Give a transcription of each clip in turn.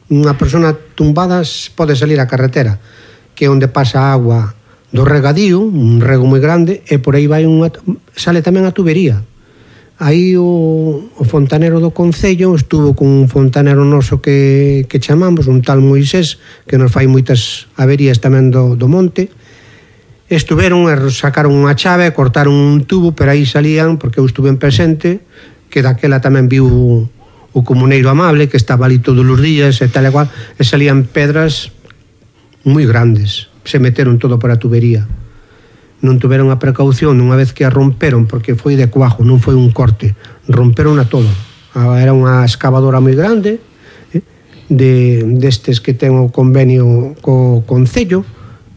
unha persona tumbada pode salir á carretera, que é onde pasa a agua do regadío, un rego moi grande, e por aí sale tamén a tubería. Aí o fontanero do Concello estuvo con un fontanero noso que chamamos, un tal Moisés, que nos fai moitas averías tamén do monte. Estuveron e sacaron unha chave, cortaron un tubo, pero aí salían, porque eu estuve en presente, que daquela tamén viu o comuneiro amable, que estaba ali todos os días e tal e cual, e salían pedras moi grandes, se meteron todo por a tubería. Non tuveron a precaución unha vez que a romperon, porque foi de cuajo, non foi un corte, romperon a todo. Era unha excavadora moi grande, destes que ten o convenio co Concello,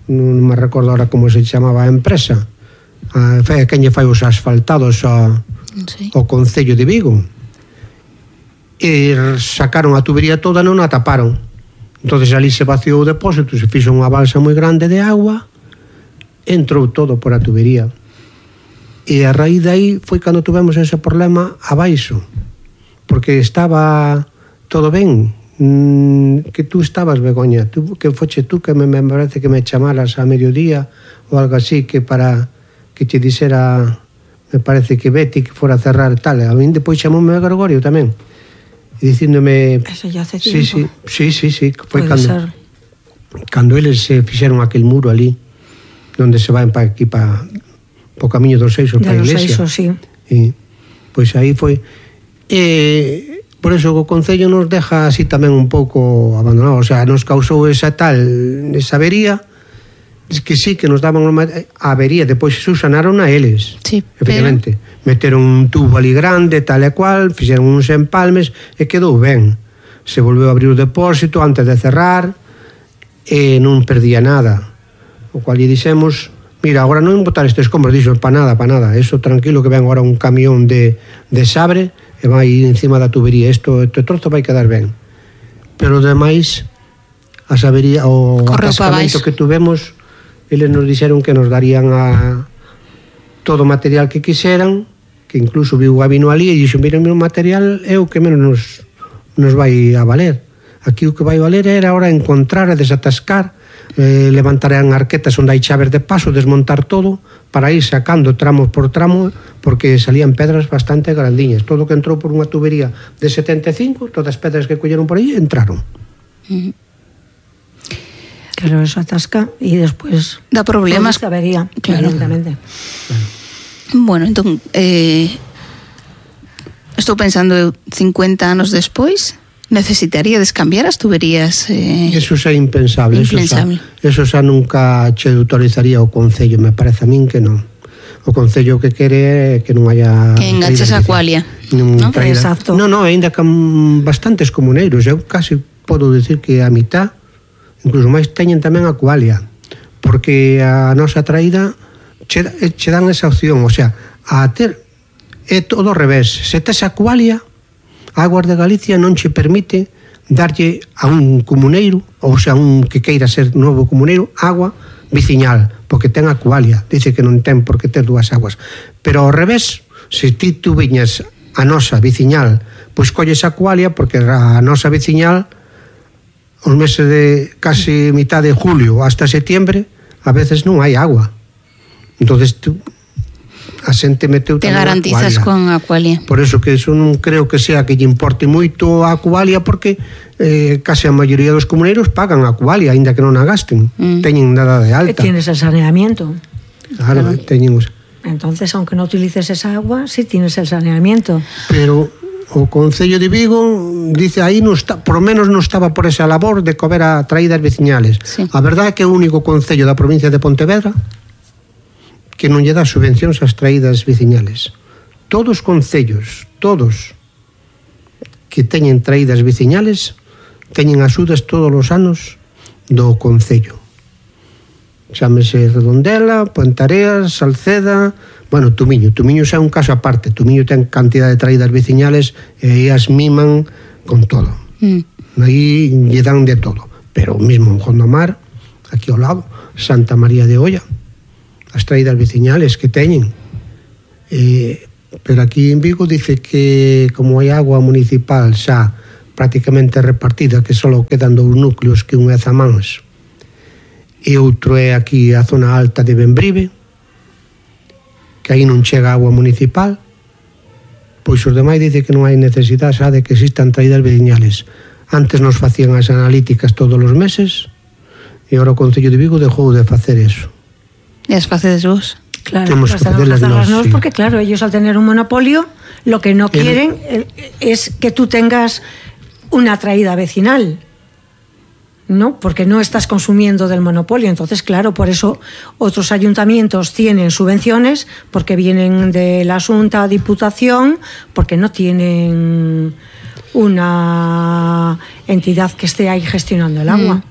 non me recordo ahora como se chamaba a empresa, quen lle fai os asfaltados ao Concello de Vigo, e sacaron a tubería toda, non a taparon. Entonces ali se vaciou o depósito, se fixo unha balsa moi grande de agua, entrou todo por a tubería. E a raíz de aí foi cando tuvemos ese problema abaixo, porque estaba todo ben, que tú estabas, Begoña, que foche tú que me parece que me chamaras a mediodía ou algo así, que para que te dixera, me parece que Betty que fora a cerrar tal. A min depois chamoume a Gregorio tamén, dicíndome... Eso ya hace tiempo. Sí, foi cando eles se fixeron aquel muro ali onde se van para aquí, para o camiño dos Seixos, para a iglesia. Dos Seixos, sí. E, pois aí foi. Por eso o Concello nos deja así tamén un pouco abandonados. O sea, nos causou esa avería, que sí, que nos daban a avería, depois subsanaron a eles. Sí, efectivamente. Meteron un tubo ali grande, tal e cual, fixeron uns empalmes e quedou ben. Se volveu a abrir o depósito antes de cerrar e non perdía nada. O cual lle dixemos, mira, agora non botar estes escombros, dixo, para nada, eso tranquilo que ven agora un camión de sabre e vai encima da tubería, este trozo vai quedar ben. Pero demais, a sabería, o atascamento que tuvemos, eles nos dixeron que nos darían todo o material que quixeran, que incluso viu o vino ali e dixo, mira, o meu material é o que menos nos vai a valer. Aquí o que vai valer era ahora encontrar e desatascar, levantarán arquetas onde hai chaves de paso, desmontar todo para ir sacando tramo por tramo, porque salían pedras bastante grandiñas. Todo que entrou por unha tubería de 75, todas as pedras que colleron por aí entraron. Claro, eso atasca e despois dá problemas, avería, claro. Evidentemente. Bueno, entón estou pensando 50 anos despois, necesitaríades cambiar as tuberías? Eso xa é impensable. Eso xa nunca che autorizaría o Concello, me parece a min que non. O Concello que quere é que non haya... Que enganches a Aqualia, ¿no? Exacto. Non, ainda que bastantes comuneiros, eu casi podo decir que a mitad, incluso máis, teñen tamén Aqualia, porque a nosa traída che dan esa opción, o sea, a ter é todo ao revés. Se tes Aqualia, Aguas de Galicia non che permite darlle a un comuneiro, ou sea, un que queira ser novo comuneiro, agua viciñal, porque ten Aqualia. Dice que non ten por que ter dúas aguas. Pero ao revés, se ti tú viñas a nosa viciñal, pois colles Aqualia, porque a nosa viciñal, os meses de casi mitad de julio hasta setembro, a veces non hai agua. Entonces tú... a xente meteu te garantizas con Aqualia. Por eso que eso non creo que sea que lle importe moito a Aqualia, porque case a maioría dos comuneiros pagan a Aqualia, aínda que non a gasten. Teñen nada de alta. E tienes el saneamiento. Claro, teñen. Entonces, aunque no utilices esa agua, sí tienes el saneamiento. Pero o Concello de Vigo dice aí non está, por lo menos non estaba por esa labor de cober a traídas veciñales. Sí. A verdade é que é o único concello da provincia de Pontevedra que non lle dá subvencións ás traídas veciñales. Todos os concellos, todos que teñen traídas veciñales, teñen axudas todos os anos do concello. Chámese Redondela, Pontareas, Salceda, bueno, Tumiño xa é un caso aparte. Tumiño ten cantidad de traídas veciñales e as miman con todo. Aí lle dan de todo. Pero mismo en Gondomar, aquí ao lado, Santa María de Olla, as traídas veciñales que teñen. Pero aquí en Vigo dice que como hai agua municipal xa prácticamente repartida, que só quedan 2 núcleos, que un é Zamáns e outro é aquí a zona alta de Bembrive, que aí non chega agua municipal. Pois os demais dice que non hai necesidade xa de que existan traídas veciñales. Antes nos facían as analíticas todos os meses e agora o Concello de Vigo dejou de facer eso. E as facedes vos? Claro, Temos que facerlas nós, sí. Porque claro, ellos al tener un monopolio, lo que no quieren es que tú tengas una traída vecinal, ¿no? Porque no estás consumiendo del monopolio. Entonces, claro, por eso otros ayuntamientos tienen subvenciones, porque vienen de la Xunta, Diputación, porque no tienen una entidad que esté ahí gestionando el agua.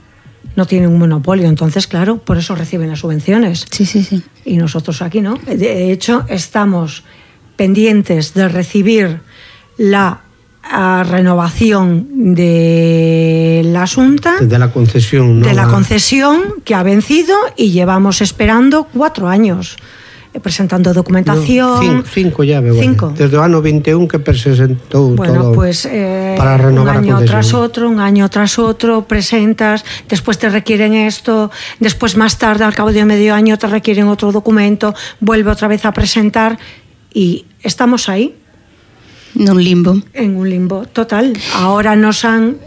No tienen un monopolio, entonces, claro, por eso reciben las subvenciones. Sí, sí, sí. Y nosotros aquí no. De hecho, estamos pendientes de recibir la renovación de la Xunta, de la concesión, ¿no? De la concesión que ha vencido, y llevamos esperando 4 años presentando documentación. 5 ya, veo. 5. Desde o ano 21 que presentou todo, pues, para renovar un año tras otro presentas, después te requieren esto, después más tarde, al cabo de medio año, te requieren otro documento, vuelve otra vez a presentar, y estamos ahí. En un limbo total. Ahora nos han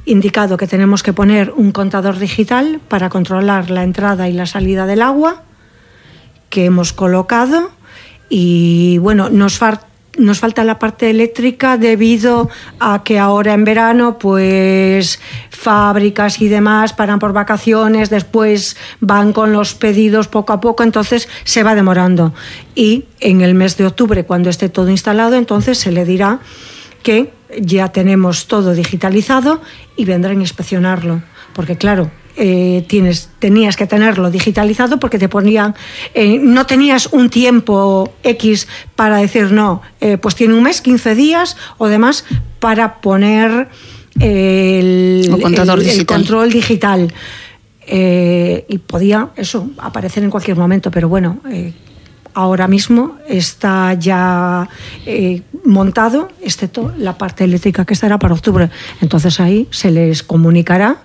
indicado que tenemos que poner un contador digital para controlar la entrada y la salida del agua, que hemos colocado, y bueno, nos falta la parte eléctrica debido a que ahora en verano pues fábricas y demás paran por vacaciones, después van con los pedidos poco a poco, entonces se va demorando, y en el mes de octubre, cuando esté todo instalado, entonces se le dirá que ya tenemos todo digitalizado y vendrán a inspeccionarlo, porque claro, tenías que tenerlo digitalizado, porque te ponían, no tenías un tiempo X para decir no, pues tiene un mes, 15 días o demás para poner el control digital, y podía eso aparecer en cualquier momento, pero bueno, ahora mismo está ya montado, excepto la parte eléctrica, que estará para octubre. Entonces ahí se les comunicará,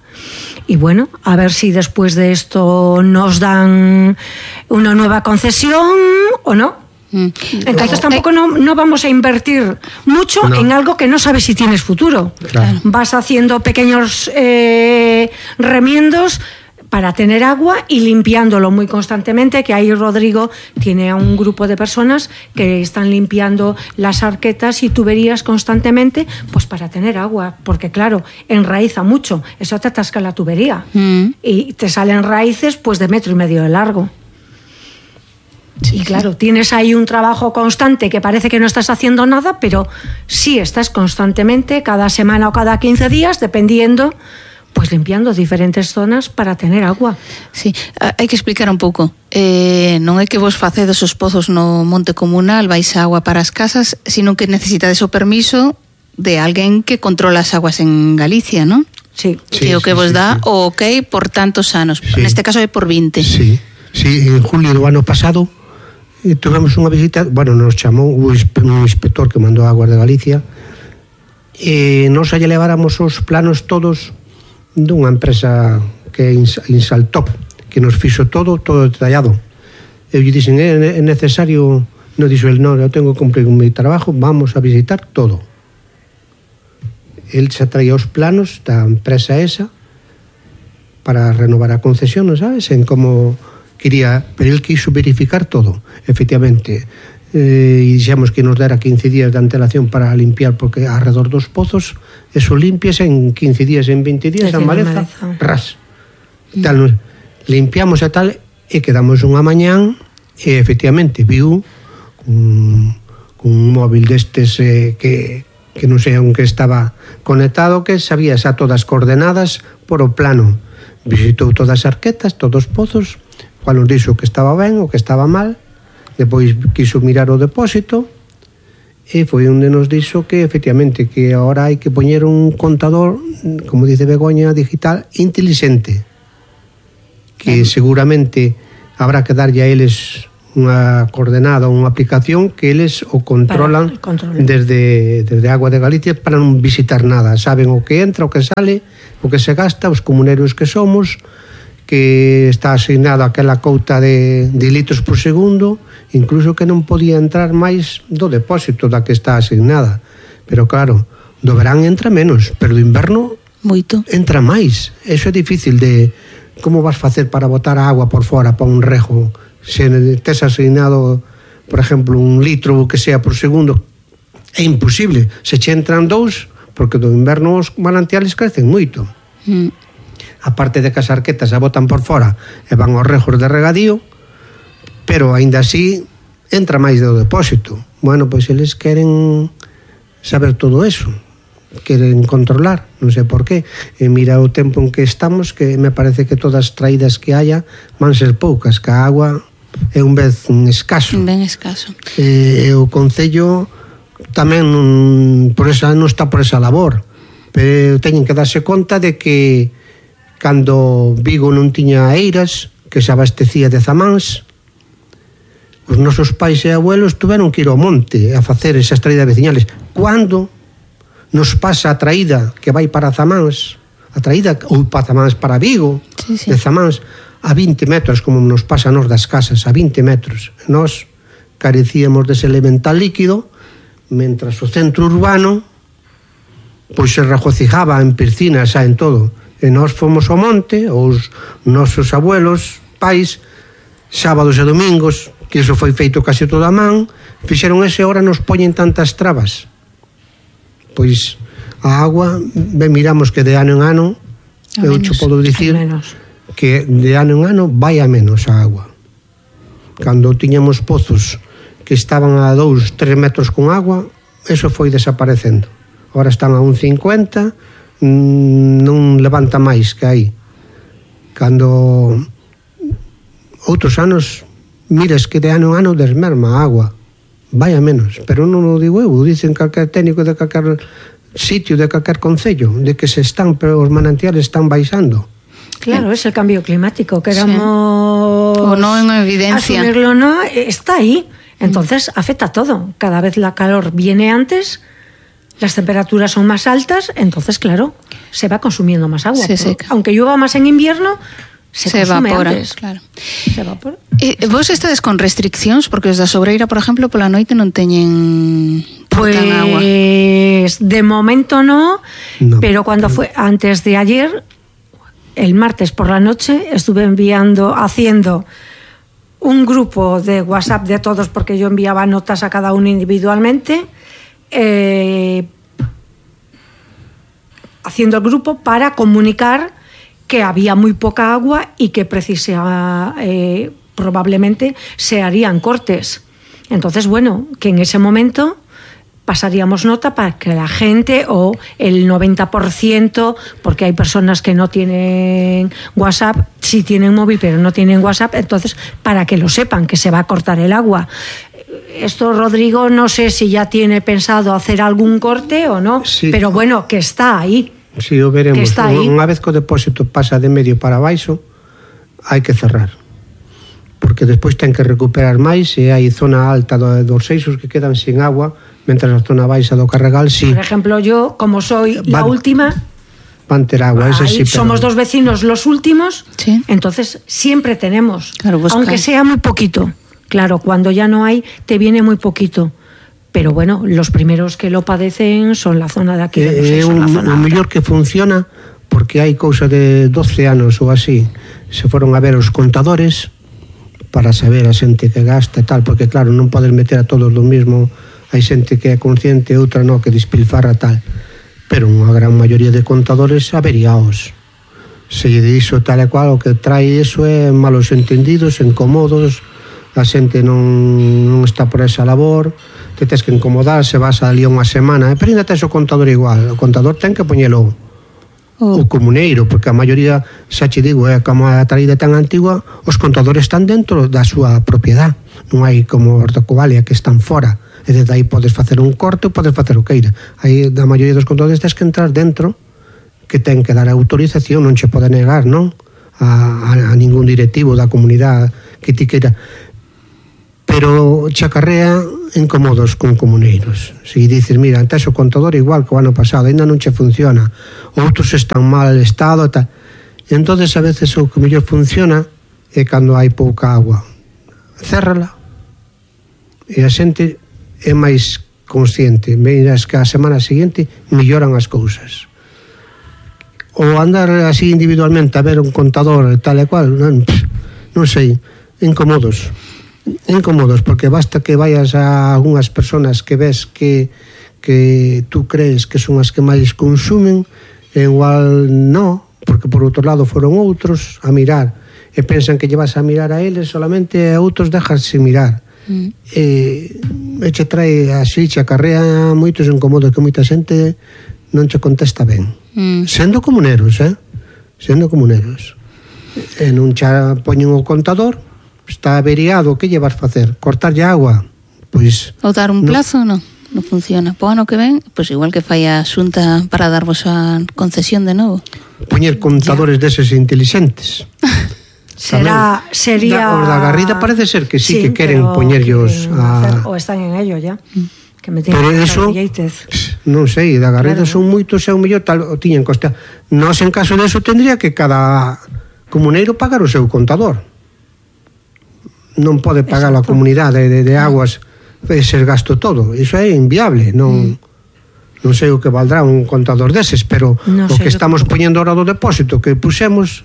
y bueno, a ver si después de esto nos dan una nueva concesión o no. Entonces tampoco no vamos a invertir mucho en algo que no sabes si tienes futuro. Claro. Vas haciendo pequeños remiendos para tener agua y limpiándolo muy constantemente, que ahí Rodrigo tiene a un grupo de personas que están limpiando las arquetas y tuberías constantemente, pues para tener agua, porque claro, enraiza mucho, eso te atasca la tubería y te salen raíces pues de 1,5 metros de largo. Sí, y claro, tienes ahí un trabajo constante que parece que no estás haciendo nada, pero sí estás constantemente, cada semana o cada 15 días, dependiendo, pues limpiando diferentes zonas para tener agua. Sí, hai que explicar un pouco. Non é que vos facedes os pozos no monte comunal, vais a agua para as casas, sino que necesitades o permiso de alguén que controla as aguas en Galicia, non? Sí. Que o que vos dá o ok por tantos anos. Sí. Neste caso é por 20. Sí, en julio do ano pasado tuvemos unha visita, bueno, nos chamou un inspector que mandou a Aguas de Galicia, e nos allá leváramos os planos todos dunha empresa que é Insaltop, que nos fixo todo detallado. Eu lle dixen, é necesario, non dixo el, non, eu tengo que cumplir con mi trabajo, vamos a visitar todo. El se traía os planos da empresa esa para renovar a concesión, non sabes, en como quería, pero el quiso verificar todo, efectivamente. E dixemos que nos dera 15 días de antelación para limpiar, porque alrededor dos pozos eso limpias en 15 días, en 20 días, a maleza, ras. Tal, limpiamos e tal, e quedamos unha mañán, e efectivamente viu un móvil destes que non sei onde estaba conectado, que sabía xa todas coordenadas por o plano. Visitou todas as arquetas, todos os pozos, cual nos dixo que estaba ben ou que estaba mal. Depois quiso mirar o depósito e foi onde nos dixo que efectivamente que agora hai que poñer un contador, como dice Begoña, digital inteligente, que seguramente habrá que darlle a eles unha coordenada, unha aplicación que eles o controlan desde Agua de Galicia para non visitar nada. Saben o que entra, o que sale, o que se gasta, os comuneiros que somos, que está asignado aquela couta de litros por segundo, incluso que non podía entrar máis do depósito da que está asignada. Pero claro, do verán entra menos, pero do inverno moito entra máis. Eso é difícil de... Como vas facer para botar a agua por fora para un rego? Se tes asignado, por exemplo, 1 litro que sea por segundo, é imposible. Se che entran 2, porque do inverno os manantiales crecen moito. Aparte de que as arquetas se botan por fora e van aos regos de regadío, pero aínda así entra máis do depósito. Bueno, pois eles queren saber todo eso, queren controlar, non sei por qué. E mira o tempo en que estamos, que me parece que todas as traídas que haya van ser poucas, que a agua é un vez escaso. Ben escaso. O Concello tamén por esa, non está por esa labor, pero teñen que darse conta de que cando Vigo non tiña eiras, que se abastecía de zamáns, os nosos pais e abuelos tuveron que ir ao monte a facer esas traídas veciñales. Cando nos pasa a traída que vai para Zamáns, a traída ou para Zamáns para Vigo, sí. de Zamáns a 20 metros, como nos pasa a nos das casas, a 20 metros. Nós carecíamos dese elemental líquido, mentras o centro urbano pois se regocijaba en piscinas, en todo. E nós fomos ao monte, os nosos abuelos, pais, sábados e domingos, que iso foi feito case toda a man, fixeron ese, hora nos poñen tantas trabas. Pois a agua, ben, miramos que de ano en ano, eu che podo dicir que de ano en ano vai a menos a agua. Cando tiñamos pozos que estaban a 2-3 metros con agua, eso foi desaparecendo. Ahora están a 1,50, non levanta máis que aí. Cando outros anos miras que de ano en ano desmerma a agua, vai a menos, pero non o digo eu, dicen calquer técnico de calquer sitio, de calquer concello, de que se están, pero os manantiales están baixando. Claro, es el cambio climático, queramos o no en evidencia, asumirlo, no, está ahí. Entonces afecta a todo. Cada vez la calor viene antes, las temperaturas son más altas, entonces claro, se va consumiendo más agua. Se seca. Aunque llueva más en invierno, se evapora, antes. Claro. Se evapora. Vos estades con restriccións, porque os da Sobreira, por exemplo, pola noite non teñen agua. Pues de momento no, pero cuando fue antes de ayer, el martes por la noche, estuve haciendo un grupo de WhatsApp de todos, porque yo enviaba notas a cada uno individualmente, haciendo el grupo para comunicar que había muy poca agua y que probablemente se harían cortes. Entonces, bueno, que en ese momento pasaríamos nota para que la gente, o el 90%, porque hay personas que no tienen WhatsApp, sí tienen móvil pero no tienen WhatsApp, entonces para que lo sepan, que se va a cortar el agua. Esto, Rodrigo, no sé si ya tiene pensado hacer algún corte o no, sí, pero bueno, que está ahí. Sí, o veremos. Unha vez que o depósito pasa de medio para baixo, hai que cerrar, porque despois ten que recuperar máis, e hai zona alta dos seixos que quedan sin agua, mentras a zona baixa do Carregal, sí. Por ejemplo, yo, como soy la última, van ter agua, ese sí, pero somos dos vecinos los últimos, sí. Entonces siempre tenemos, claro, aunque sea muy poquito. Claro, cuando ya no hay, te viene muy poquito. Pero bueno, los primeros que lo padecen son la zona de aquí de los seixos, la zona alta. Mellor que funciona, porque hai cousa de 12 anos ou así, se foron a ver os contadores para saber a xente que gasta e tal, porque claro, non podes meter a todos do mismo, hai xente que é consciente, outra non, que despilfarra tal, pero unha gran maioría de contadores averiaos. Se lle dixo tal e cual, o que trae iso é malos entendidos, incomodos, a xente non está por esa labor, te tens que incomodar, se vas ali unha semana, pero ainda tes o contador igual, o contador ten que poñelo o comuneiro, porque a maioría, xa che digo, como a traída tan antigua, os contadores están dentro da súa propiedade, non hai como os da Covalia que están fora, e desde aí podes facer un corte ou podes facer o queira. Aí da maioría dos contadores tens que entrar dentro, que ten que dar autorización, non che pode negar, non? A ningún directivo da comunidade que ti queira. pero chacarrea incomodos con comuneiros. Se dices, mira, antes o contador igual que o ano pasado, ainda non che funciona, outros están mal estado, tal. E entonces a veces o que mellor funciona é cando hai pouca agua. Cérrala e a xente é máis consciente. Miras que a semana seguinte melloran as cousas. Ou andar así individualmente a ver un contador tal e cual, non sei, incómodos, porque basta que vayas a algunhas personas que ves que tú crees que son as que máis consumen, e igual no, porque por outro lado foron outros a mirar, e pensan que lle vas a mirar a eles solamente, a outros dejarse mirar. E che trae así, che acarrea moitos incómodos que moita xente non che contesta ben. Sendo comuneros, sendo comuneros. E non che poñen o contador, está averiado, que lle vas facer? Cortarlle agua? Pois ou dar un plazo, non funciona. Po ano que ven, pois igual que fai a Xunta para darvos a concesión de novo. Poñer contadores deses inteligentes. Sería os da Garrida parece ser que sí que queren poñerllos o están en ello ya. Que me pero eso, non sei, da Garrida son moitos, é un mellor tal, o tiñen costa. Nós en caso de eso tendría que cada comuneiro pagar o seu contador. Non pode pagar a comunidade de aguas ese gasto todo, iso é inviable. Non sei o que valdrá un contador deses, pero o que estamos poñendo ahora do depósito que pusemos,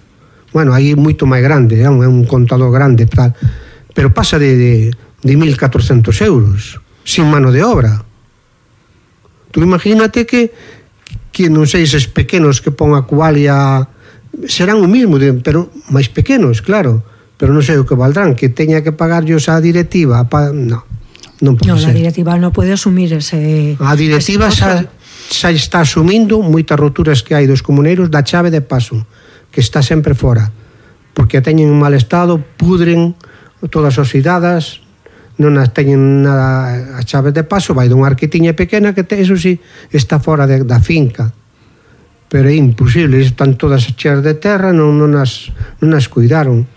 bueno, aí moito máis grande, é un contador grande, tal, pero pasa de 1.400 euros sin mano de obra. Tú imagínate que non sei, eses pequenos que pon a cualia serán o mismo, pero máis pequenos, claro, pero non sei o que valdrán, que teña que pagarllos a directiva, non pode ser. A directiva non pode asumir ese... A directiva xa está asumindo moitas roturas que hai dos comuneiros da chave de paso, que está sempre fora, porque a teñen en mal estado, pudren todas as oxidadas, non as teñen nada a chave de paso, vai dunha arquetiña pequena que eso sí está fora da finca, pero é imposible, están todas cheas de terra, non as cuidaron.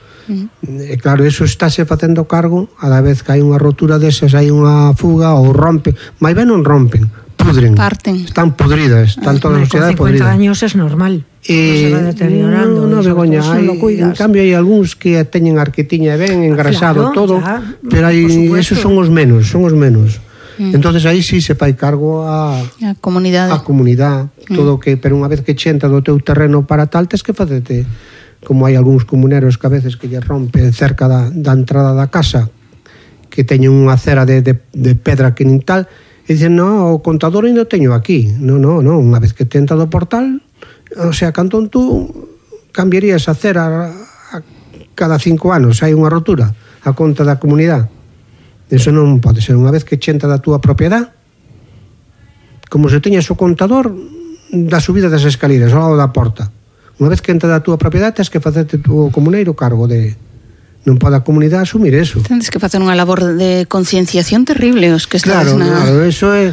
E claro, eso estáse facendo cargo a la vez que hai unha rotura desas, hai unha fuga ou rompen, máis ben non rompen, pudren, parten, están podridas, están todas as sociedades podridas. Con 50 años es normal, se va deteriorando. Non vergoña, en cambio hai algúns que teñen arquetiña ben engrasado, claro, todo, ya, pero esos son os menos. Entonces aí sí se fai cargo a comunidade, todo que, pero unha vez que chenta do teu terreno para tal, tes que facerte, como hai algúns comuneros que a veces que lle rompe cerca da entrada da casa, que teñen unha acera de pedra que nin tal, e dicen, no, o contador ainda teño aquí. Non, unha vez que te entra do portal, o sea, cantón tú cambiarías a acera cada 5 anos, hai unha rotura a conta da comunidade. Eso non pode ser. Unha vez que chenta da túa propiedade, como se teñas o contador da subida das escaleras ao lado da porta, unha vez que entra da túa propiedade, tens que facerte o comuneiro cargo de... Non pode a comunidade asumir eso. Tens que facer unha labor de concienciación terrible os que estás Claro, eso é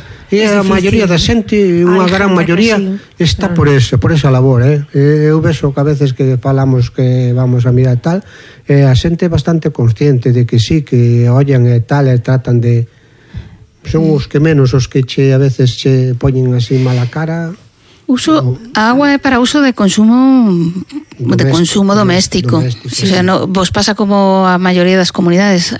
a maioría da xente, unha gran maioría está por esa labor, Eu vexo que a veces que falamos que vamos a mirar tal, a xente é bastante consciente de que sí, que ollan e tal, e tratan de... Son os que menos, os que a veces che poñen así mala cara... A agua é para uso de consumo doméstico. Sí. O sea, vos pasa como a maioría das comunidades,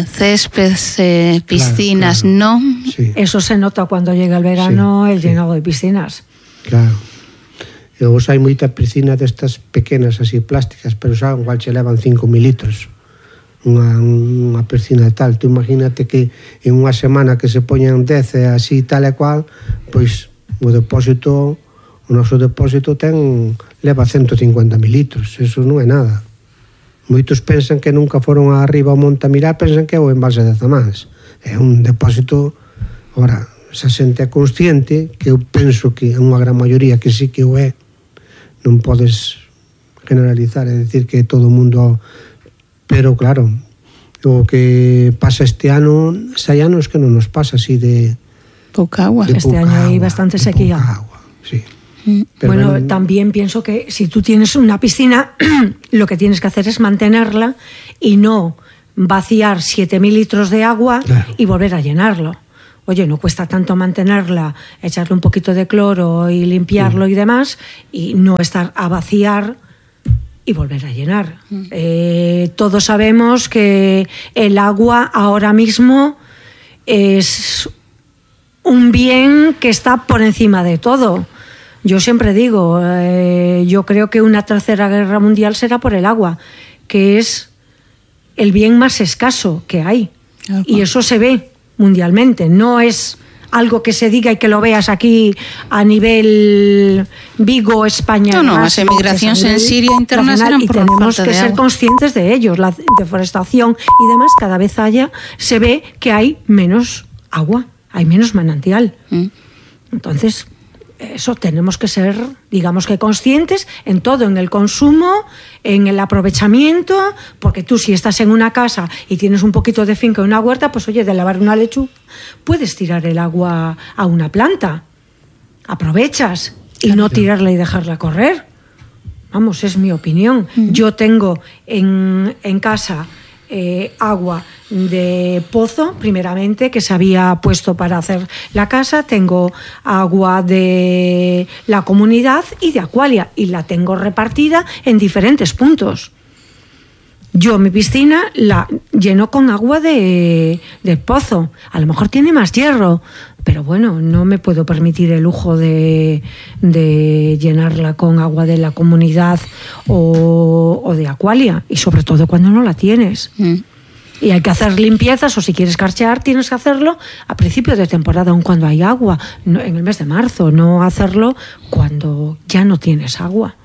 céspedes, piscinas, claro. Non? Sí. Eso se nota cuando llega el verano, el llenado de piscinas. Claro. E vos hai moita piscina destas pequenas así plásticas, pero xa igual che levan 5.000 litros. Unha piscina tal. Tú imagínate que en unha semana que se poñan 10 así tal e cual, pois o noso depósito leva 150.000 litros, eso non é nada. Moitos pensan que nunca foron arriba ao monte a mirar, pensan que é o embalse de Zamáns. É un depósito, ora, esa xente é consciente, que eu penso que é unha gran maioría que sí que o é, non podes generalizar, é dicir que todo o mundo, pero claro, o que pasa este ano, hai anos que non nos pasa así de pouca agua. Este año hay bastante sequía. Sí. Bueno, también pienso que si tú tienes una piscina, lo que tienes que hacer es mantenerla y no vaciar 7.000 litros de agua Claro. y volver a llenarlo. Oye, no cuesta tanto mantenerla, echarle un poquito de cloro y limpiarlo y demás, y no estar a vaciar y volver a llenar. Todos sabemos que el agua ahora mismo es un bien que está por encima de todo. Yo siempre digo, yo creo que una tercera guerra mundial será por el agua, que es el bien más escaso que hay. Y eso se ve mundialmente, no es algo que se diga y que lo veas aquí a nivel Vigo, España. No, las emigracións en Siria internas eran por tenemos falta que de ser agua. conscientes de ellos. La deforestación y demás, cada vez se ve que hay menos agua, hay menos manantial. Entonces, eso tenemos que ser, digamos que conscientes en todo, en el consumo, en el aprovechamiento, porque tú si estás en una casa y tienes un poquito de finca o una huerta, pues oye, de lavar una lechuga, puedes tirar el agua a una planta. Aprovechas y no tirarla y dejarla correr. Vamos, es mi opinión. Yo tengo en casa agua de pozo, primeramente, que se había puesto para hacer la casa. Tengo agua de la comunidad y de Aqualia, y la tengo repartida en diferentes puntos. Yo mi piscina la lleno con agua del pozo. A lo mejor tiene más hierro, pero bueno, no me puedo permitir el lujo de llenarla con agua de la comunidad o de Aqualia, y sobre todo cuando no la tienes. Y hay que hacer limpiezas, o si quieres carchear tienes que hacerlo a principio de temporada, aun cuando hay agua, no, en el mes de marzo, no hacerlo cuando ya no tienes agua.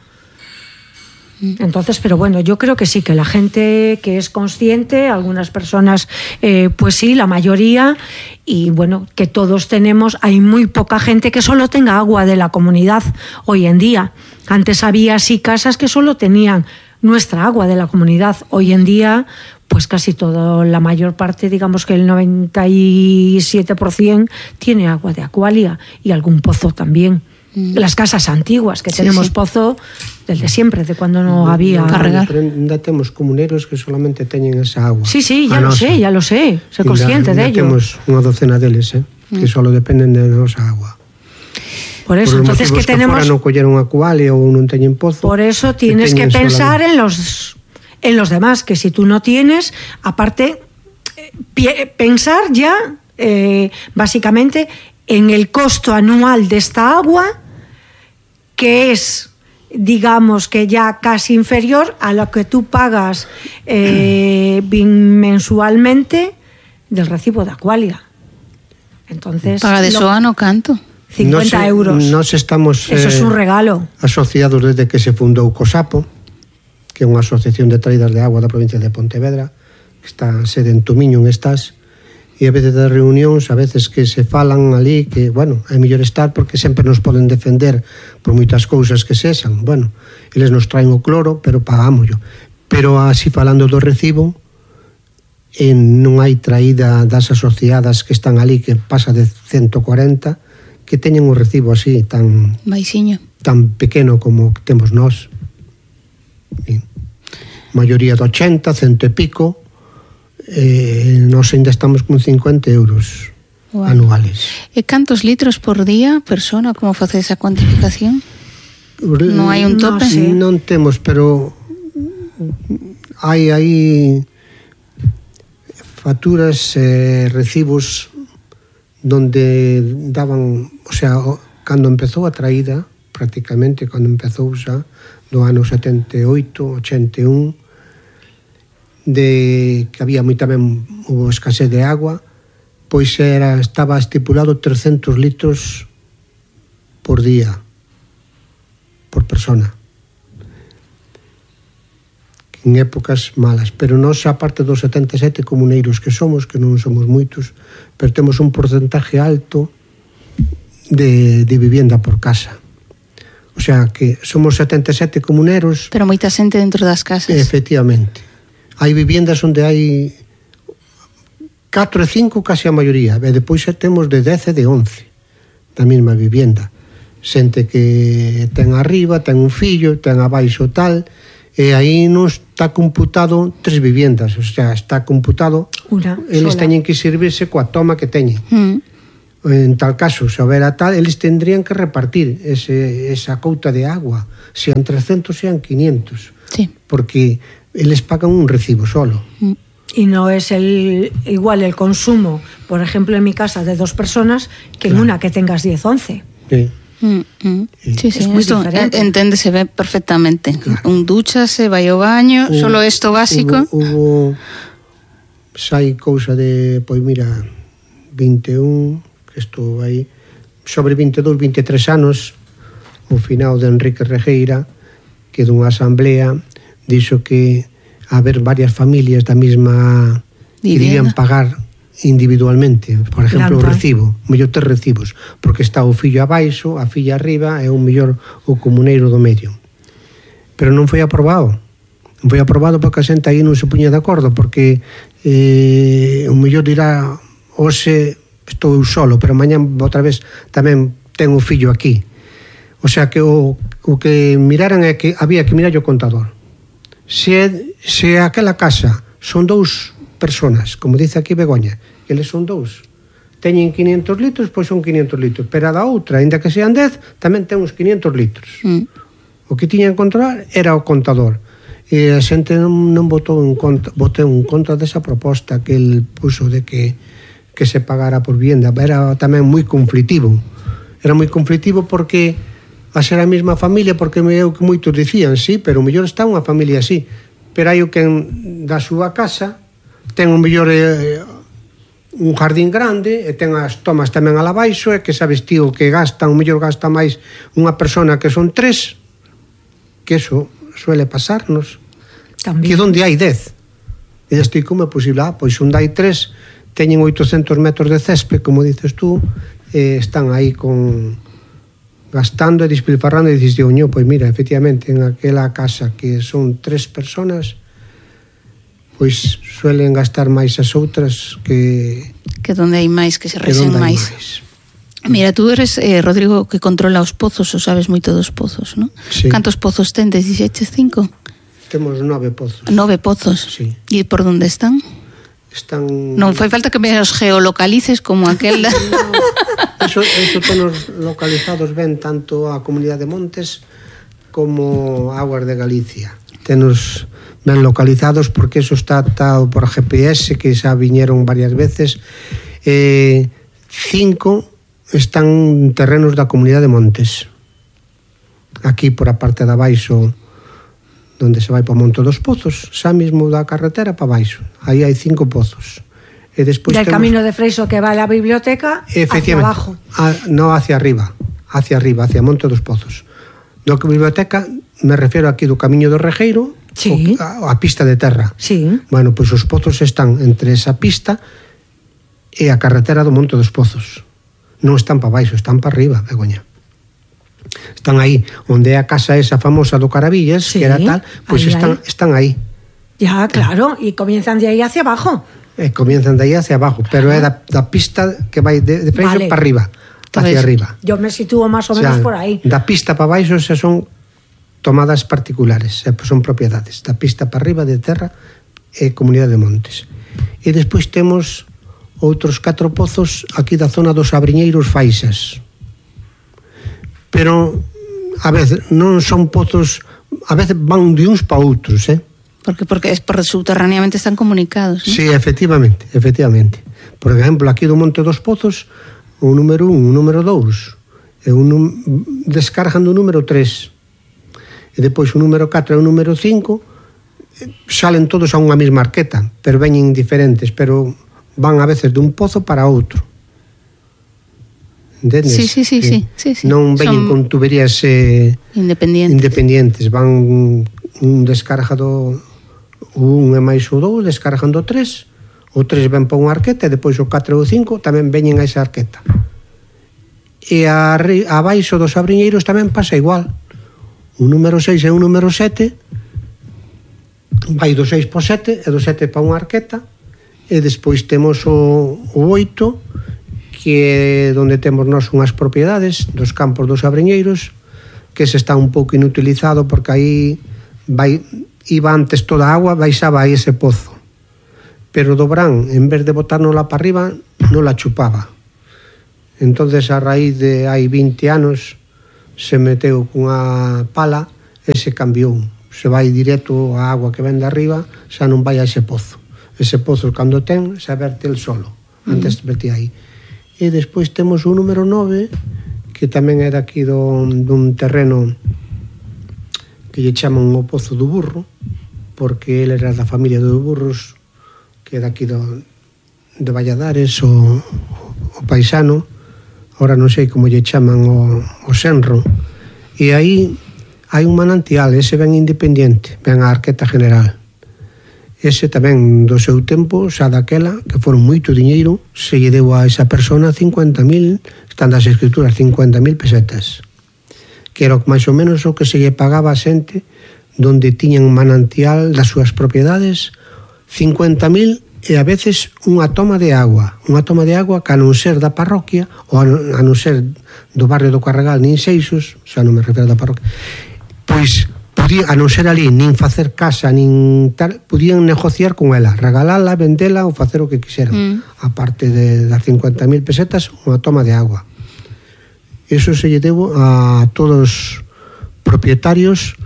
Entonces, pero bueno, yo creo que sí, que la gente que es consciente, algunas personas pues sí, la mayoría, y bueno, que todos tenemos, hay muy poca gente que solo tenga agua de la comunidad hoy en día. Antes había sí casas que solo tenían nuestra agua de la comunidad. Hoy en día, pues casi toda, la mayor parte, digamos que el 97% tiene agua de Aqualia y algún pozo también. Las casas antiguas, que tenemos pozo del de siempre, de cuando no había... Carregar. Ainda temos comuneros que solamente teñen esa agua. Sí, ya lo sé, soy consciente de ello. Temos unha docena deles, que solo dependen de nosa agua. Por eso, entonces, que tenemos... Por non colleron Aqualia ou non teñen pozo. Por eso tienes que pensar en los demás, que si tú no tienes, aparte, pensar ya, básicamente, en el costo anual de esta agua, que es, digamos que ya casi inferior a lo que tú pagas mensualmente del recibo de Aqualia. Entonces, Paga de soa no canto. 50 euros. Nos estamos Eso es un regalo. Asociados desde que se fundou COSAPO, que é unha asociación de traídas de agua da provincia de Pontevedra, que está sede en Tomiño, en Estás, e a veces das reunións, a veces que se falan ali, que, bueno, é mellor estar porque sempre nos poden defender por moitas cousas que sexan. Bueno, eles nos traen o cloro, pero pagámoslo. Pero así falando do recibo, non hai traída das asociadas que están ali, que pasa de 140, que teñen o recibo así, tan Baixiño. tan pequeno como temos nós. Maioría de 80, 100 e pico, nós ainda estamos con 50 euros anuales. E cantos litros por día, persona, como face esa cuantificación? Non hai un tope? Non temos, pero hai facturas, recibos donde daban, o sea, cando empezou a traída, prácticamente cando empezou xa no ano 78, 81, de que había tamén hubo escasez de agua, pois estaba estipulado 300 litros por día, por persona, en épocas malas. Pero nós, a parte dos 77 comuneiros que non somos moitos, pero temos un porcentaje alto de vivienda por casa. O sea, que somos 77 comuneros. Pero moita xente dentro das casas. Efectivamente. Hai viviendas onde hai 4 e 5, casi a maioría, e depois temos de 10 e de 11 da mesma vivienda. Xente que ten arriba, ten un fillo, ten abaixo tal, e aí nos está computado 3 viviendas, o sea, está computado eles teñen que servirse coa toma que teñen. En tal caso, se houbera tal, eles tendrían que repartir esa couta de agua, sean 300, sean 500, sí, porque eles pagan un recibo solo. Y no es igual el consumo, por ejemplo, en mi casa de 2 personas, que en una que tengas 10, 11. Sí. Sí, Es muy esto diferente. enténdese ve perfectamente. Claro. Un dúchase, vai ao baño, solo esto básico. Hubo sai cousa de, pois mira, 21, que estou aí, sobre 22, 23 anos, o final de Enrique Regueira, que dunha asamblea dixo que haber varias familias da mesma que debían pagar individualmente, por exemplo, o recibo, mellor 3 recibos, porque está o fillo abaixo, a filla arriba e o mellor o comuneiro do medio. Pero non foi aprobado. Non foi aprobado porque a xente aí non se puña de acordo, porque o mellor dirá, hoxe estou eu solo, pero mañá outra vez tamén ten o fillo aquí. O sea que o que miraran é que había que mirar o contador. Se aquela casa son 2 personas, como dice aquí Begoña, eles son 2, teñen 500 litros, pois son 500 litros, pero a da outra, ainda que sean 10, tamén ten uns 500 litros. O que tiñan que controlar era o contador, e a xente non votou en contra desa proposta que el puso de que se pagara por vivienda. Era tamén moi conflitivo, porque a ser a mesma familia, porque é o que moitos dicían, sí, pero o mellor está unha familia así, pero hai o que da súa casa ten o mellor un jardín grande e ten as tomas tamén ala baixo, e que sabes tío que gasta, o mellor gasta máis unha persona que son 3, que eso suele pasarnos. También. Que onde hai 10 e estou como é posible, pois onde hai 3 teñen 800 metros de césped, como dices tú, están aí gastando e despilfarrando, e dices, oño, pois mira, efectivamente en aquela casa que son 3 personas, pois suelen gastar máis as outras que donde hai máis, que se resen máis. Mira, tú eres, Rodrigo, que controla os pozos, ou sabes moito dos pozos, non? Sí. Cantos pozos tendes? Dixeches 5? Temos 9 pozos. 9 pozos? Sí. E por onde están? Non fai falta que me os geolocalices como aquel no, eso tenos localizados ben tanto a Comunidade de Montes como Aguas de Galicia. Tenos ben localizados porque eso está atado por GPS, que xa viñeron varias veces. 5 están en terrenos da Comunidade de Montes, aquí por a parte de abaixo, donde se vai para o Monte dos Pozos, xa mesmo da carretera para baixo. Aí hai 5 pozos. E despois del camino de Freixo que vai á biblioteca hacia abajo. No, hacia arriba, hacia Monte dos Pozos. No que biblioteca me refiero aquí do Camiño do Regueiro, sí, a pista de terra. Sí. Bueno, pois os pozos están entre esa pista e a carretera do Monte dos Pozos. Non están para baixo, están para arriba, Begoña. Están aí, onde é a casa esa famosa do Carabillas, sí, que era tal, pois están aí. Ya, claro, e comienzan de aí hacia abajo. Comienzan de aí hacia abajo, pero é da pista que vai de Freixo para arriba, hacia arriba. Yo me sitúo máis ou menos por aí. Da pista para baixo xa son tomadas particulares, son propiedades. Da pista para arriba de terra é Comunidade de Montes. E despois temos outros 4 pozos aquí da zona dos Abriñeiros Faixas. Pero a veces non son pozos, a veces van de uns para outros, Porque subterráneamente están comunicados, ¿no? Sí, efectivamente. Por exemplo, aquí do Monte dos Pozos, o número 1, o número 2, descargan do número 3. E depois o número 4 e o número 5 salen todos a unha mesma arqueta, pero veñen diferentes, pero van a veces dun pozo para outro. Entendes? Sí. Non veñen con tuberías independientes. Van un descarga do 1 e máis o 2, descargan do 3, o 3 ven para unha arqueta, e depois o 4 e o 5 tamén veñen a esa arqueta. E abaixo dos Abriñeiros tamén pasa igual. O número 6 e o número 7 vai do 6 para o 7 e do 7 para unha arqueta, e despois temos o 8, que é onde temos nós unhas propiedades dos campos dos Abriñeiros, que se está un pouco inutilizado porque aí vai iba antes toda a agua, baixaba a ese pozo. Pero do verán, en vez de botárnosla para arriba, non la chupaba. Entonces, a raíz de hai 20 anos, se meteu cunha pala e se cambiou. Se vai directo a agua que ven de arriba, xa non vai a ese pozo. Ese pozo, cando ten, se verte el solo. Antes vertía aí. E despois temos o número 9, que tamén é daqui dun terreno que lle chaman o Pozo do Burro, porque ele era da familia dos burros, que é daqui de Valladares, o paisano, ahora non sei como lle chaman o senro, e aí hai un manantial, ese ben independiente, ben a Arqueta General. Ese tamén do seu tempo, xa daquela, que foron moito diñeiro, se lle deu a esa persona 50.000, están das escrituras, 50.000 pesetas, que era máis ou menos o que se lle pagaba a xente donde tiñan manantial das súas propiedades, 50.000 e a veces unha toma de agua que a non ser da parroquia ou a non ser do barrio do Carregal nin Seixos, xa non me refiro da parroquia, pois podía, a non ser ali nin facer casa nin tal, podían negociar con ela, regalala, vendela ou facer o que quixeran, aparte das 50.000 pesetas, unha toma de agua. Eso se lle debo a todos os propietarios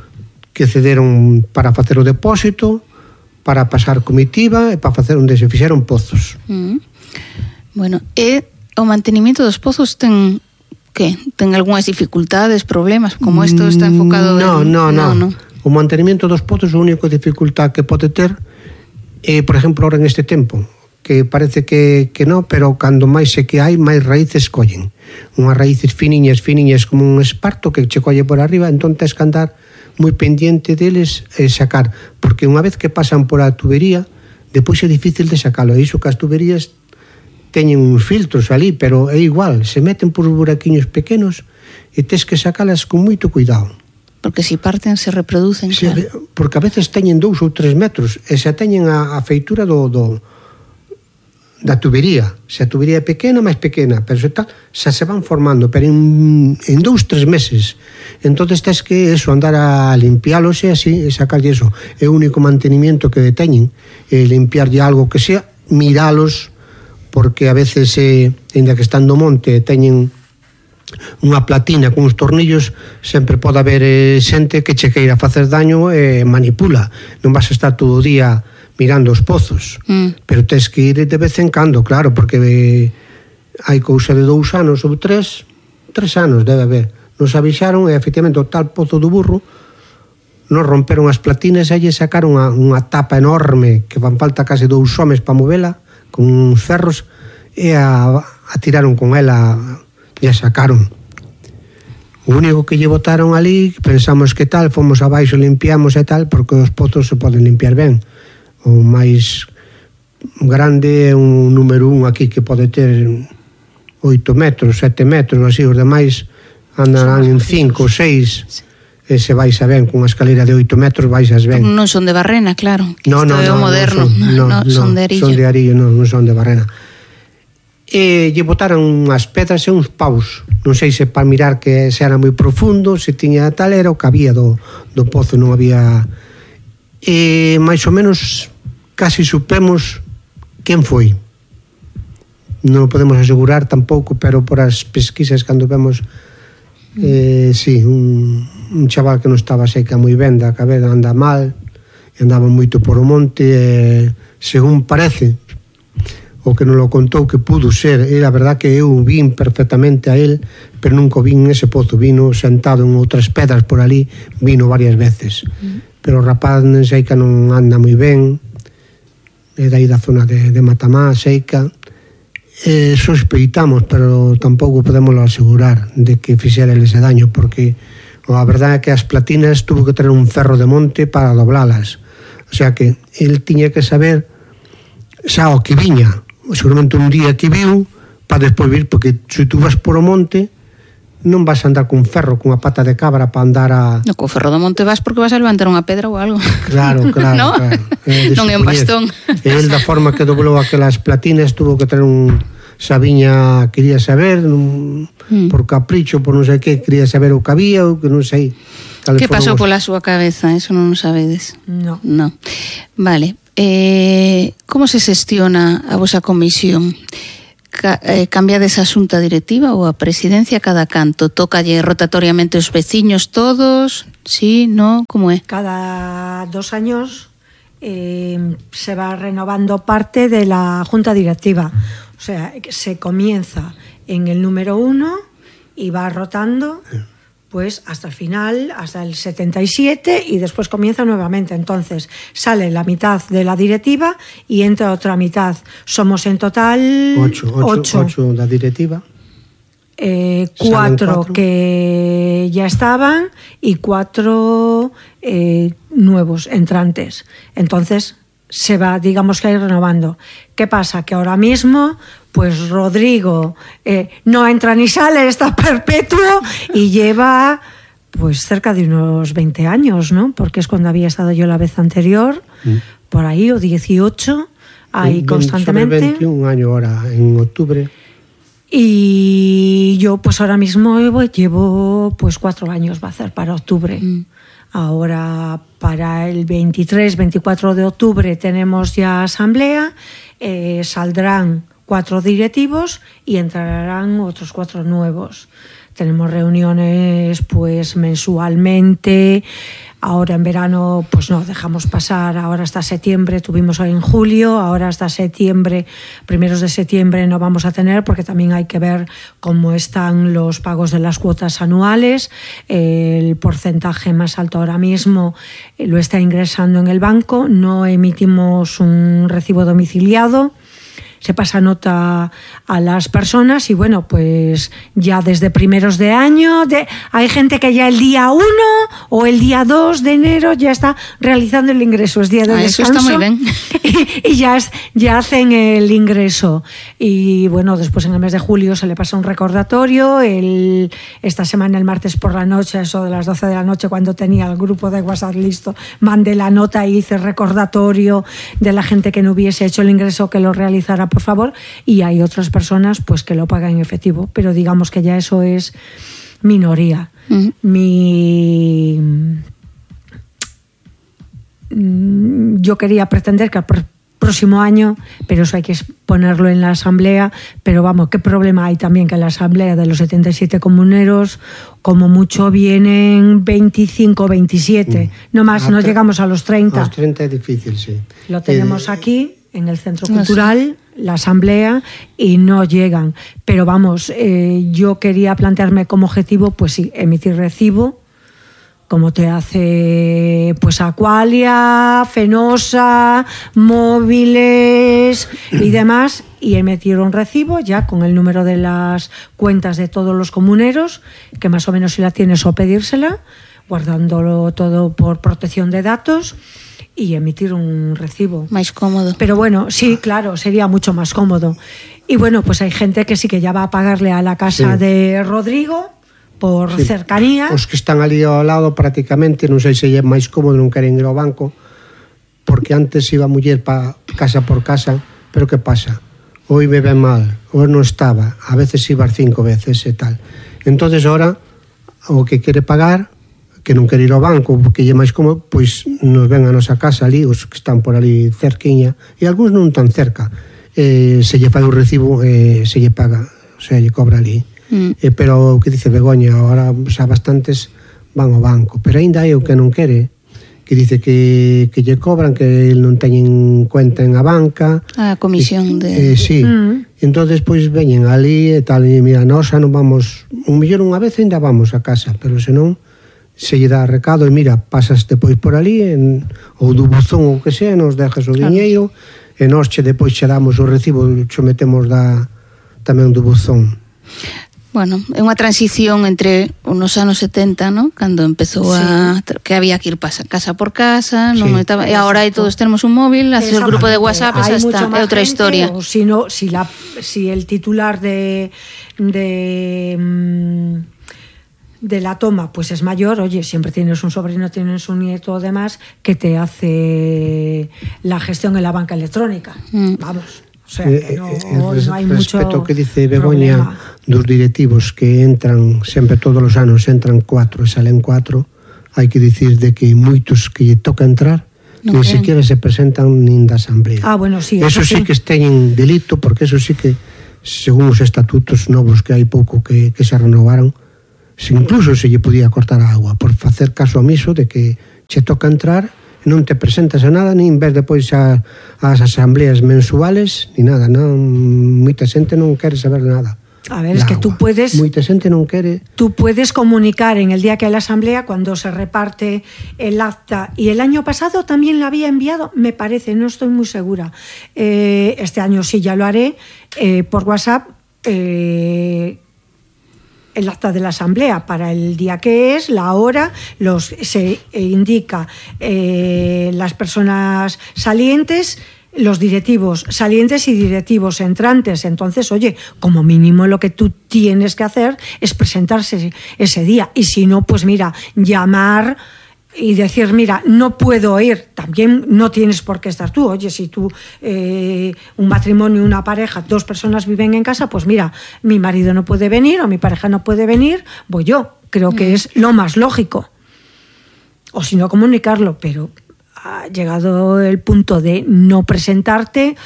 que cederon para facer o depósito, para pasar comitiva e para facer onde se fixeron pozos. Bueno, e o mantenimento dos pozos ten que? Ten algunhas dificultades, problemas, como isto está enfocado? No. O mantenimento dos pozos, a única dificultad que pode ter é, por exemplo, ahora en este tempo, que parece que non, pero cando máis se que hai, máis raíces collen. Unhas raíces finiñas como un esparto que che colle por arriba, entón tens que andar moi pendiente deles e sacar, porque unha vez que pasan por a tubería, depois é difícil de sacalo. E iso que as tuberías teñen uns filtros ali, pero é igual, se meten por buraquiños pequenos e tes que sacalas con moito cuidado. Porque se parten, se reproducen, claro. Porque a veces teñen 2 ou 3 metros e se teñen a feitura da tubería. Se a tubería é pequena, máis pequena, pero se tal, xa se van formando, pero en 2-3 meses. Entonces tens que eso, andar a limpiálos e así, e sacarlle eso. É o único mantenimiento que teñen, limpiarlle algo que sea, miralos, porque a veces, ainda que están no monte, teñen unha platina con uns tornillos, sempre pode haber xente que che queira facer daño e manipula. Non vas a estar todo o día mirando os pozos, pero tens que ir de vez en cando, claro, porque hai cousa de 2 anos ou 3 anos debe haber. Nos avisaron e efectivamente o tal Pozo do Burro nos romperon as platinas e lle sacaron unha tapa enorme que fan falta case 2 homes para movela con uns ferros e a tiraron con ela e a sacaron. O único que lle botaron ali, pensamos que tal, fomos abaixo, limpiamos e tal, porque os pozos se poden limpiar ben. O máis grande é un número 1 aquí que pode ter 8 metros, 7 metros, así, os demais andarán en 5 ou 6, e se vais a ben con unha escalera de 8 metros baixas ben. Non son de barrena, claro, que isto é o moderno, son de arillo. Son de arillo, non son de barrena. E lle botaron unhas pedras e uns paus, non sei se para mirar que se era moi profundo, se tiña tal, era o que había do pozo, non había... E máis ou menos casi supemos quen foi. Non podemos asegurar tampouco, pero por as pesquisas cando vemos sí, un chaval que non estaba seca moi ben da cabeza, anda mal, andaba moito por o monte, según parece o que nos lo contou que pudo ser, era verdad que eu vin perfectamente a él, pero nunca vin ese pozo, vino sentado en outras pedras por ali, vino varias veces. Pero o rapaz Seica non anda moi ben, é dai da zona de Matamá, Seica, sospeitamos, pero tampouco podemos asegurar de que fixera ese daño, porque a verdade é que as platinas tuvo que ter un ferro de monte para doblalas, o sea que el tiña que saber xa o que viña, seguramente un día que viu para despois vir, porque se tú vas por o monte non vas a andar con ferro, con a pata de cabra para andar a... No, con ferro do monte vas porque vas a levantar unha pedra ou algo. Claro, ¿No? Claro. Non é un bastón. E el da forma que doblou aquelas platinas tuvo que ter Sabiña quería saber, por capricho, por non sei que, quería saber o que había, ou que non sei. Que pasou pola súa cabeza? Eso non o sabedes? No. Vale. Como se xestiona a vosa comisión? Cambiades a xunta directiva ou a presidencia cada canto? Tócalle rotatoriamente os veciños todos? Sí, no? Como é? Cada 2 años se va renovando parte de la junta directiva. O sea, se comienza en el número 1 y va rotando pues hasta el final, hasta el 77, y después comienza nuevamente. Entonces sale la mitad de la directiva y entra otra mitad. Somos en total 8 da directiva. 4 que ya estaban y 4 nuevos entrantes. Entonces se va, digamos que ir renovando. ¿Qué pasa? Que ahora mismo pues Rodrigo no entra ni sale, está perpetuo y lleva pues cerca de unos 20 años, ¿no? Porque es cuando había estado yo la vez anterior, por ahí, o 18, ahí constantemente. 21 años ahora, en octubre. Y yo pues ahora mismo llevo pues 4 años, va a ser para octubre. Ahora para el 23, 24 de octubre tenemos ya asamblea, saldrán 4 directivos y entrarán otros 4 nuevos. Tenemos reuniones pues mensualmente. Ahora en verano pues no dejamos pasar, ahora hasta septiembre, tuvimos hoy en julio, ahora hasta septiembre, primeros de septiembre no vamos a tener, porque también hay que ver cómo están los pagos de las cuotas anuales. El porcentaje más alto ahora mismo lo está ingresando en el banco, no emitimos un recibo domiciliado. Se pasa nota a las personas y bueno, pues ya desde primeros de año hay gente que ya el día 1 o el día 2 de enero ya está realizando el ingreso, es día de descanso. Eso está muy bien. Y ya hacen el ingreso. Y bueno, después en el mes de julio se le pasa un recordatorio. Esta semana, el martes por la noche, eso de las 12 de la noche, cuando tenía el grupo de WhatsApp listo, mandé la nota y hice recordatorio de la gente que no hubiese hecho el ingreso, que lo realizara por favor, y hay otras personas pues que lo pagan en efectivo, pero digamos que ya eso es minoría. Yo quería pretender que al próximo año, pero eso hay que ponerlo en la asamblea, pero vamos, ¿qué problema hay también que en la asamblea de los 77 comuneros, como mucho vienen 25, 27, no más, no llegamos a los 30. A los 30 es difícil, sí. Lo tenemos aquí, en el Centro Cultural, la asamblea, y no llegan. Pero vamos, yo quería plantearme como objetivo, pues sí, emitir recibo, como te hace pues Aqualia, Fenosa, Móviles y demás, y emitir un recibo ya con el número de las cuentas de todos los comuneros, que más o menos si la tienes, o pedírsela, guardándolo todo por protección de datos, y emitir un recibo. Máis cómodo. Pero bueno, sí, claro, sería mucho más cómodo. Y bueno, pues hay gente que sí que ya va a pagarle a la casa de Rodrigo por cercanía. Os que están ali ao lado prácticamente, non sei se é máis cómodo, non queren ir ao banco, porque antes iba a muller pa casa por casa, pero que pasa? Hoy me ven mal, hoy non estaba, a veces iba 5 veces e tal. Entonces ahora, o que quere pagar, que non quere ir ao banco porque lle máis cómodo, pois nos ven a nosa casa ali, os que están por ali cerquiña, e algúns non tan cerca, se lle fai o recibo, se lle paga, o sea, lle cobra ali. Pero o que dice Begoña, ahora xa bastantes van ao banco, pero ainda hai o que non quere, que dice que lle cobran, que non teñen cuenta en a banca, a comisión de... sí. Entonces pois veñen ali e tal, e mira, nós xa non vamos, un millón unha vez ainda vamos a casa, pero senón se lle dá recado e mira, pasas depois por ali ou do buzón ou que sea, nos dejas o diñeiro e nós depois che damos o recibo, che metemos tamén do buzón. Bueno, é unha transición entre nos anos 70, ¿no? Cando empezou que había que ir casa por casa, non estaba, e agora aí todos tenemos un móvil, haces el grupo de WhatsApp, esa está, é outra historia. O si el titular de la toma pues es mayor, oye, siempre tienes un sobrino, tienes un nieto o demás que te hace la gestión en la banca electrónica. Vamos, O sea, que no hai mucho respecto ao que dice Begoña dos directivos que entran sempre todos os anos, entran 4 e salen 4, hai que dicir de que moitos que lle toca entrar nin sequera se presentan nin da asamblea. Bueno, sí, eso sí que teñen delito, porque eso sí que según os estatutos novos que hai pouco que se renovaron, incluso se lle podía cortar a agua por facer caso omiso de que che toca entrar, non te presentas a nada, nin ves depois as asambleas mensuales, ni nada, non, moita xente non quere saber nada. A ver, es que tú puedes... Moita xente non quere... Tú puedes comunicar en el día que hay la asamblea cuando se reparte el acta. Y el año pasado también la había enviado, me parece, no estoy muy segura. Este año sí ya lo haré por WhatsApp. El acta de la asamblea para el día que es, la hora, se indica las personas salientes, los directivos salientes y directivos entrantes. Entonces, oye, como mínimo lo que tú tienes que hacer es presentarse ese día. Y si no, pues mira, llamar y decir, mira, no puedo ir. También no tienes por qué estar tú. Oye, si tú, un matrimonio, una pareja, 2 personas viven en casa, pues mira, mi marido no puede venir o mi pareja no puede venir, voy yo. Creo que es lo más lógico. O si no, comunicarlo, pero ha llegado el punto de no presentarte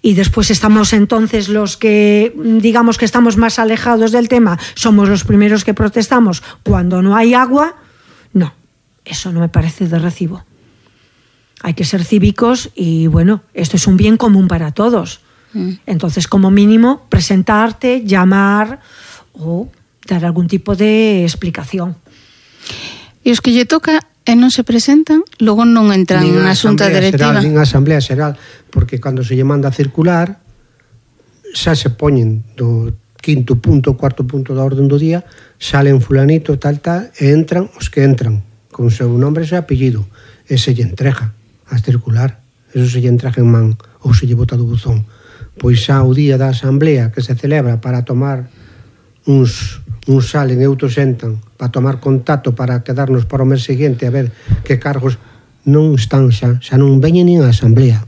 y después estamos entonces los que, digamos que estamos más alejados del tema, somos los primeros que protestamos cuando no hay agua. No. Eso no me parece de recibo. Hay que ser cívicos y, bueno, esto es un bien común para todos. Entonces, como mínimo, presentarte, llamar o dar algún tipo de explicación. E os que lle toca e non se presentan, logo non entran na xunta directiva. Nin a asamblea xeral, porque cando se lle manda a circular, xa se poñen do 5º punto, 4º punto da orden do día, salen fulanito, tal, e entran os que entran con o seu nombre e seu apellido, e se lle entrega a circular, eso se lle entrega en man ou se lle bota do buzón. Pois xa o día da asamblea que se celebra para tomar uns salen e outros entran para tomar contacto para quedarnos para o mes seguinte a ver que cargos non están xa non veñen nin a asamblea,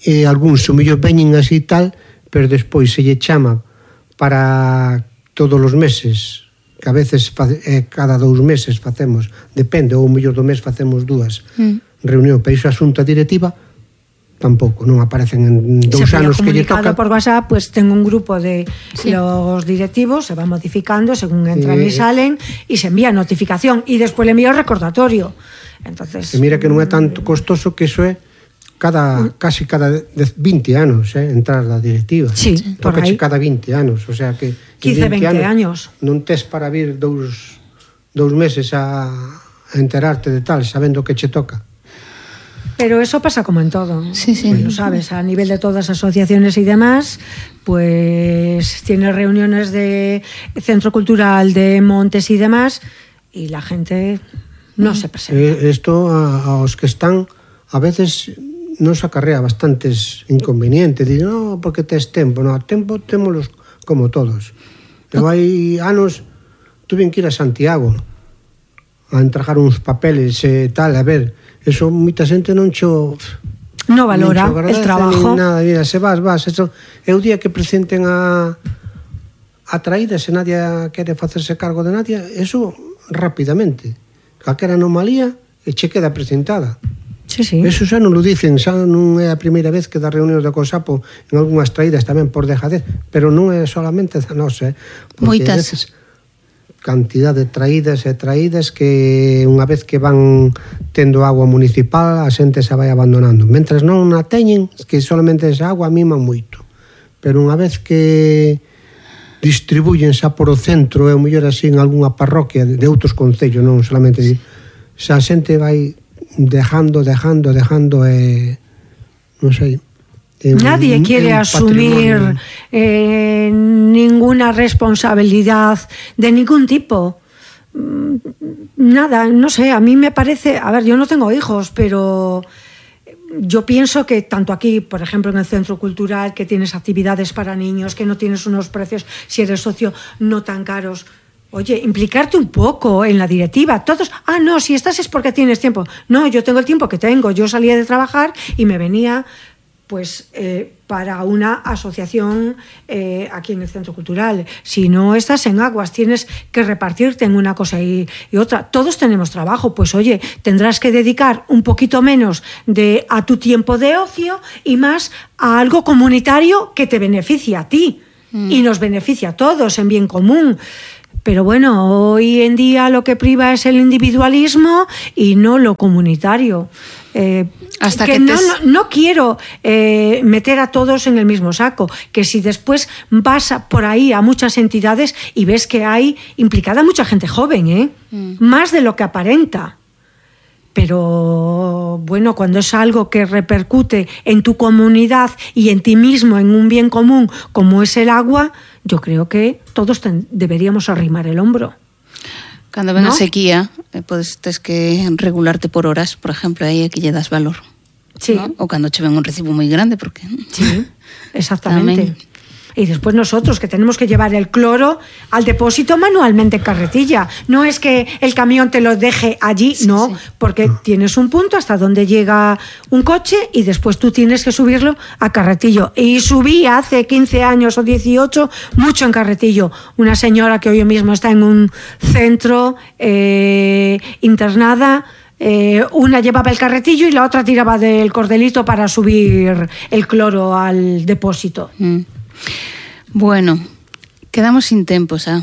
e algúns o mellor veñen así tal, pero despois se lle chama para todos os meses, que a veces cada 2 meses facemos, depende, ou o mellor do mes facemos 2 reunións, pero iso a xunta directiva tampouco, non aparecen en 2 anos que lle toca. Por WhatsApp, pues tengo un grupo de los directivos, se va modificando según entran y salen, y se envía notificación, y después le envío recordatorio. Entonces, que mira que non é tanto costoso, que iso é casi cada 20 anos, entrar da directiva. Sí, por aí. Cada 20 anos, o sea que 15, 20 años. Non tes para vir 2 meses a enterarte de tal, sabendo que che toca. Pero eso pasa como en todo. Sí. Pues lo sabes, a nivel de todas las asociaciones y demás, pues tiene reuniones de Centro Cultural de Montes y demás, y la gente no se presenta. Esto aos que están, a veces nos acarrea bastantes inconvenientes. Dicen, no, porque tes tempo. No, tempo témolos como todos. Pero hai anos tuve que ir a Santiago a entregar uns papeles e tal, a ver, eso moita xente non valora el trabajo. Nada, mira, se vas, eso é o día que presenten a traída, se nadie quere facerse cargo de nadie, eso rapidamente. Calquera anomalía e che queda presentada. Sí. Eso xa non lo dicen, xa non é a primeira vez que dá reunións de COSAPO en algunhas traídas tamén por dejadez, pero non é solamente da nosa, porque moitas. A veces cantidad de traídas e traídas que unha vez que van tendo agua municipal a xente se vai abandonando, mentras non a teñen, que solamente esa agua miman moito, pero unha vez que distribuyen xa por o centro e o mellor así en algunha parroquia de outros concellos, non solamente xa a xente vai dejando e non sei. Nadie quiere asumir ninguna responsabilidad de ningún tipo. Nada, no sé, a mí me parece, a ver, yo no tengo hijos, pero yo pienso que tanto aquí, por ejemplo, en el Centro Cultural, que tienes actividades para niños, que no tienes unos precios, si eres socio, no tan caros. Oye, implicarte un poco en la directiva. Todos, no, si estás es porque tienes tiempo. No, yo tengo el tiempo que tengo. Yo salía de trabajar y me venía, pues, para una asociación aquí en el Centro Cultural. Si no estás en aguas, tienes que repartirte en una cosa y otra. Todos tenemos trabajo, pues oye, tendrás que dedicar un poquito menos a tu tiempo de ocio y más a algo comunitario que te beneficia a ti y nos beneficia a todos en bien común. Pero bueno, hoy en día lo que priva es el individualismo y no lo comunitario. Hasta que no quiero meter a todos en el mismo saco, que si después vas por ahí a muchas entidades y ves que hay implicada mucha gente joven, más de lo que aparenta. Pero bueno, cuando es algo que repercute en tu comunidad y en ti mismo, en un bien común como es el agua, yo creo que todos deberíamos arrimar el hombro. Cando ven a sequía, tes que regularte por horas, por exemplo, aí é que lle das valor. Sí. ¿No? O cando che ven un recibo moi grande, porque... Sí, exactamente. Y después nosotros, que tenemos que llevar el cloro al depósito manualmente en carretilla. No es que el camión te lo deje allí, no, porque tienes un punto hasta donde llega un coche y después tú tienes que subirlo a carretillo. Y subí hace 15 años o 18 mucho en carretillo. Una señora que hoy mismo está en un centro internada, una llevaba el carretillo y la otra tiraba del cordelito para subir el cloro al depósito. Bueno, quedamos sin tempo, xa.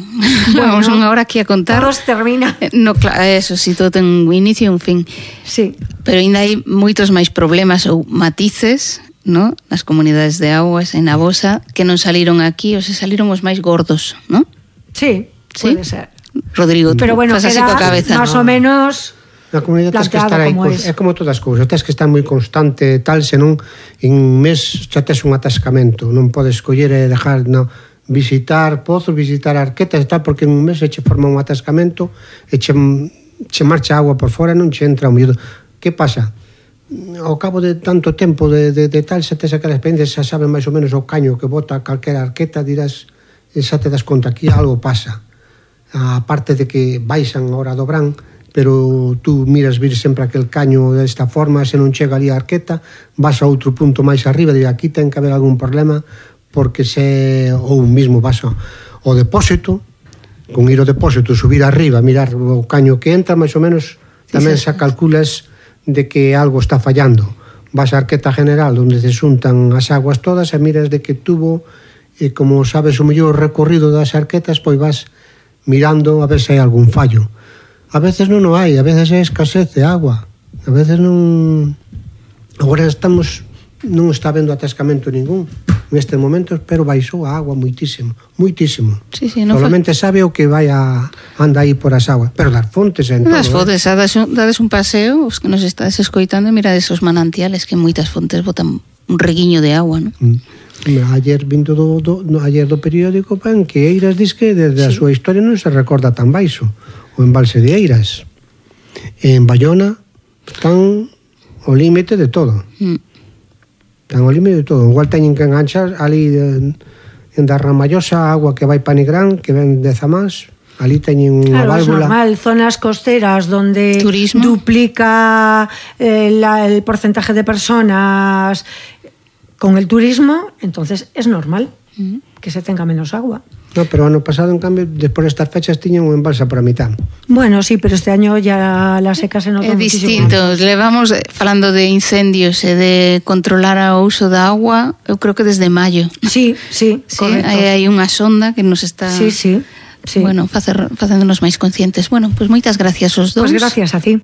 Bueno, vamos unha hora aquí a contar. Todos termina. No, claro, eso, si todo ten un inicio e un fin. Sí. Pero ainda hai moitos máis problemas ou matices, ¿no? Nas comunidades de augas, en a vosa, que non saliron aquí, ou se saliron os máis gordos, ¿no? Sí, puede ser. Rodrigo, pero bueno, fas así coa cabeza. Más o menos... Na comunidade tens que estar aí, é como todas as cousas, tens que estar moi constante, tal, senón en un mes xa tes un atascamento, non podes coller e dejar, no, visitar pozos, visitar arquetas e tal, porque en un mes se che forma un atascamento e che marcha agua por fora e non che entra o miúdo. Que pasa? Ao cabo de tanto tempo de tal, xa tes aquela experiencia, xa sabes máis ou menos o caño que bota calquera arqueta, dirás, xa te das conta, aquí algo pasa. A parte de que baixan a hora do verán, pero tú miras vir sempre aquel caño desta forma, se non chega ali a arqueta, vas a outro punto máis arriba, e aquí ten que haber algún problema, porque ou mismo vas ao depósito, con ir ao depósito, subir arriba, mirar o caño que entra, máis ou menos, tamén xa calculas de que algo está fallando. Vas á arqueta general, onde se xuntan as aguas todas, e miras de que tuvo, e como sabes o mellor recorrido das arquetas, pois vas mirando a ver se hai algún fallo. A veces non o hai, a veces é escasez de agua, a veces non... Agora non está habendo atascamento ningún neste momento, pero baixou a agua moitísimo, moitísimo. Sí, no solamente sabe o que anda aí por as aguas, pero das fontes en todo. Das fontes, dades un paseo, os que nos estades escoitando, mirades os manantiales, que moitas fontes botan un reguiño de agua, non? Ayer vindo ayer do periódico, que Eiras diz que desde a súa historia non se recorda tan baixo. O embalse de Eiras, en Bayona, están ao límite de todo. Están ao límite de todo. Igual teñen que enganchar ali en da Ramallosa, agua que vai para Nigrán, que ven de Zamás, ali teñen unha válvula. Es normal, zonas costeras donde turismo duplica el porcentaje de personas con el turismo, entonces es normal que se tenga menos agua. No, pero ano pasado, en cambio, despois destas fechas tiñan un embalse por a mitad. Bueno, sí, pero este año ya la seca se nota muchísimo. É distinto. Levamos falando de incendios e de controlar o uso da agua, eu creo que desde maio. Sí, correcto. Hai unha sonda que nos está... Sí. Bueno, facéndonos máis conscientes. Bueno, pois moitas gracias aos dous. Pois gracias a ti.